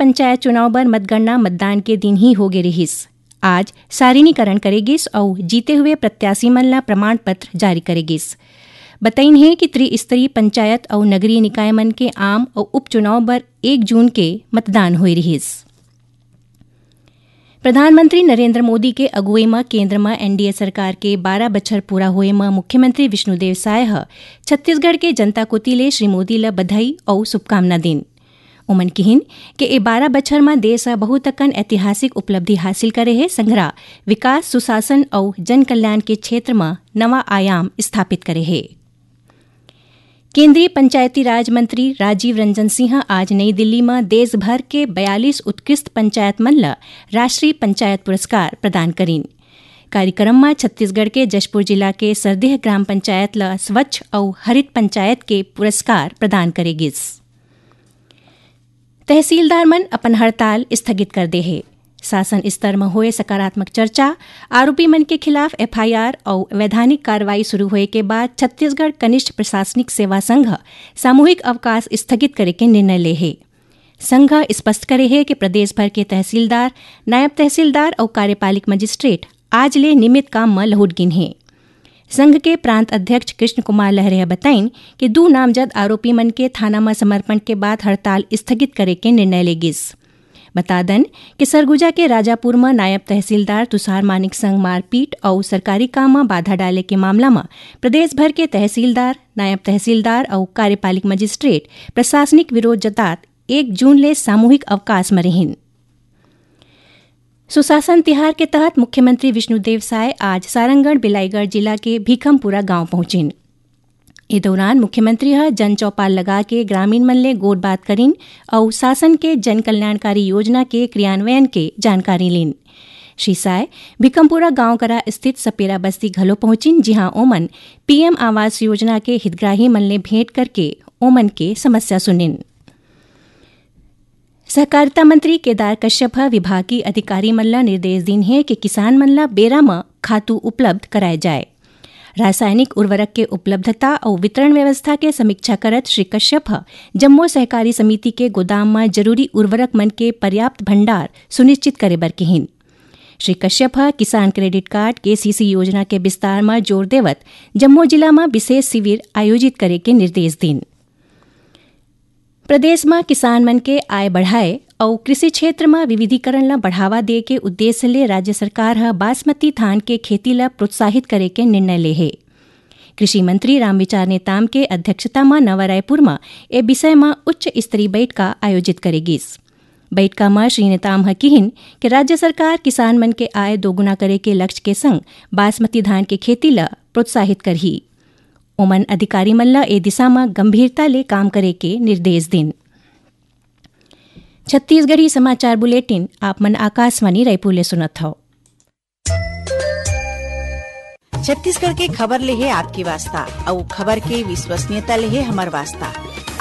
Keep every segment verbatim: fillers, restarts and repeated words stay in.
पंचायत चुनाव बर मतगणना मतदान के दिन ही होगे रिहिस। आज सारिणीकरण करे गिस अउ जीते हुए प्रत्याशी मन ला प्रमाण पत्र जारी करे गिस। बतइन हे कि त्रिस्तरीय पंचायत अउ नगरीय निकाय मन के आम अउ उपचुनाव बर एक जून के मतदान होए रिहिस। प्रधानमंत्री नरेंद्र मोदी के अगुवई म केंद्र म एनडीए सरकार के बारह बछर पूरा होए म मुख्यमंत्री विष्णुदेव साय ह छत्तीसगढ़ के जनता कोति ले श्री मोदी ल बधाई अउ शुभकामना दीन। ओमन किहिन के ए बारह बछर म देश ह बहुत अकन ऐतिहासिक उपलब्धि हासिल करे हे, संघरा विकास, सुशासन अउ जन कल्याण के क्षेत्र म नवा आयाम स्थापित करे हे। केंद्रीय पंचायती राज मंत्री राजीव रंजन सिंह आज नई दिल्ली म देश भर के बयालीस उत्कृष्ट पंचायत मन ल राष्ट्रीय पंचायत पुरस्कार प्रदान करीन। कार्यक्रम म छत्तीसगढ़ के जशपुर जिला के सरदेह ग्राम पंचायत ल स्वच्छ अउ हरित पंचायत के पुरस्कार प्रदान करे गिस। तहसीलदार मन अपन हड़ताल स्थगित कर दे हे। शासन स्तर म होए सकारात्मक चर्चा, आरोपी मन के खिलाफ एफआईआर अउ वैधानिक कार्रवाई शुरू होए के बाद छत्तीसगढ़ कनिष्ठ प्रशासनिक सेवा संघ ह सामूहिक अवकाश स्थगित करे के निर्णय ले हे। संघ ह स्पष्ट करे हे कि प्रदेश भर के तहसीलदार, नायब तहसीलदार अउ कार्यपालिक मजिस्ट्रेट आज ले नियमित काम म लहुट गिन हे। संघ के प्रांत अध्यक्ष कृष्ण कुमार लहरे ह बताइन कि दू नामजद आरोपी मन के थाना म समर्पण के बाद हड़ताल स्थगित करे के निर्णय ले गिस। बता दन कि सरगुजा के राजापुर म नायब तहसीलदार तुषार मानिक संग मारपीट अउ सरकारी काम म बाधा डाले के मामला म प्रदेश भर के तहसीलदार, नायब तहसीलदार अउ कार्यपालिक मजिस्ट्रेट प्रशासनिक विरोध जतात एक जून ले सामूहिक अवकाश म रिहिन। सुशासन तिहार के तहत मुख्यमंत्री विष्णुदेव साय आज सारंगढ़ बिलाईगढ़ जिला के भीखमपुरा गांव पहुंचिन। ए दौरान मुख्यमंत्री ह जन चौपाल लगा के ग्रामीण मन ले गोठ बात करिन अउ शासन के जन कल्याणकारी योजना के क्रियान्वयन के जानकारी लीन। श्री साय भीखमपुरा गांव करा स्थित सपेरा बस्ती घलो पहुंचिन, जिहां ओमन पीएम आवास योजना के हितग्राही मन ले भेंट करके ओमन के समस्या सुनिन। सहकारिता मंत्री केदार कश्यप ह विभागीय अधिकारी मन ल निर्देश दीन हे कि किसान मन ल बेरा म खातू उपलब्ध कराए जाए। रासायनिक उर्वरक के उपलब्धता अउ वितरण व्यवस्था के समीक्षा करत श्री कश्यप ह जम्मो सहकारी समिति के गोदाम म जरूरी उर्वरक मन के पर्याप्त भंडार सुनिश्चित करे बर किहिन। श्री कश्यप ह किसान क्रेडिट कार्ड, केसीसी योजना के विस्तार म जोर देवत जम्मो जिला म विशेष शिविर आयोजित करे के निर्देश दीन। प्रदेश म किसान मन के आय बढ़ाए अउ कृषि क्षेत्र म विविधीकरण ल बढ़ावा दे के उद्देश्य ले राज्य सरकार ह बासमती धान के खेती ल प्रोत्साहित करे के निर्णय ले हे। कृषि मंत्री रामविचार नेताम के अध्यक्षता म नवा रायपुर म ए विषय म उच्च स्तरीय बैठका आयोजित करे गिस। बैठका म श्री नेताम ह किहिन कि राज्य सरकार किसान मन के आय दोगुना करे के लक्ष्य के संग बासमती धान के खेती ल प्रोत्साहित करही। ओमन अधिकारी मन ल ए दिशा म गंभीरता ले काम करे के निर्देश दीन। छत्तीसगढ़ी समाचार बुलेटिन आप मन आकाशवाणी रायपुर ले सुनत हव। छत्तीसगढ़ के खबर ले हे आपके वास्ता, अउ खबर के विश्वसनीयता ले हे हमर वास्ता।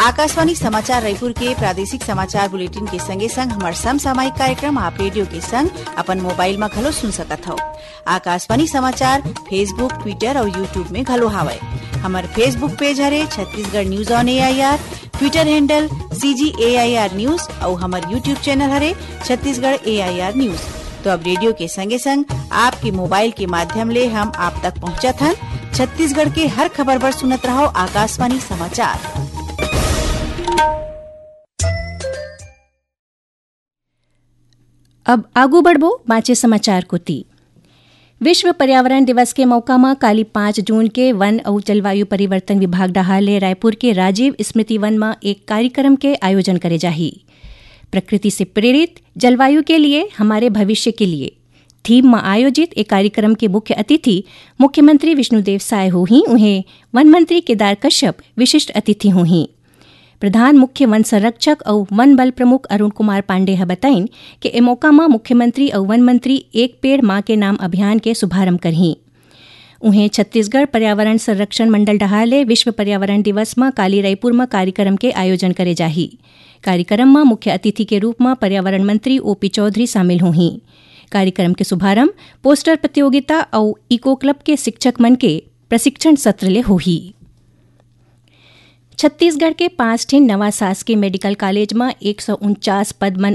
आकाशवाणी समाचार रायपुर के प्रादेशिक समाचार बुलेटिन के संगे संग हमर समसामयिक कार्यक्रम आप रेडियो के संग अपन मोबाइल म घलो सुन सकत हव। आकाशवाणी समाचार Facebook, Twitter अउ YouTube में घलो हावय। हमर Facebook पेज हरे Chhattisgarh news on AIR, Twitter handle CG AIR news अउ हमर YouTube चैनल हरे छत्तीसगढ़ एआईआर न्यूज। तो अब रेडियो के संगे संग आपके मोबाइल के माध्यम ले हम आप तक पहुंचत हन। छत्तीसगढ़ के हर खबर बर सुनत रहव आकाशवाणी समाचार। अब आगू बढ़बो बांचे समाचार कोति। विश्व पर्यावरण दिवस के मौका म काली पाँच जून के वन अउ जलवायु परिवर्तन विभाग डहार ले रायपुर के राजीव स्मृति वन म एक कार्यक्रम के आयोजन करे जाही। प्रकृति से प्रेरित, जलवायु के लिए, हमारे भविष्य के लिए थीम म आयोजित ए कार्यक्रम के मुख्य अतिथि मुख्यमंत्री विष्णुदेव साय होही। उहें वन मंत्री केदार कश्यप विशिष्ट अतिथि होही। प्रधान मुख्य वन संरक्षक अउ वन बल प्रमुख अरुण कुमार पांडे ह बताइन कि ए मौका म मुख्यमंत्री अउ वन मंत्री एक पेड़ मां के नाम अभियान के शुभारंभ करही। उहें, छत्तीसगढ़ पर्यावरण संरक्षण मंडल डहार ले विश्व पर्यावरण दिवस म काली रायपुर म कार्यक्रम के आयोजन करे जाही। कार्यक्रम म मुख्य अतिथि के रूप म पर्यावरण मंत्री ओपी चौधरी शामिल होही। कार्यक्रम के शुभारंभ पोस्टर प्रतियोगिता अउ इको क्लब के शिक्षक मन के प्रशिक्षण सत्र ले होही। छत्तीसगढ़ के पांच ठिन नवा शासकीय मेडिकल कॉलेज म एक सौ उनचास पद मन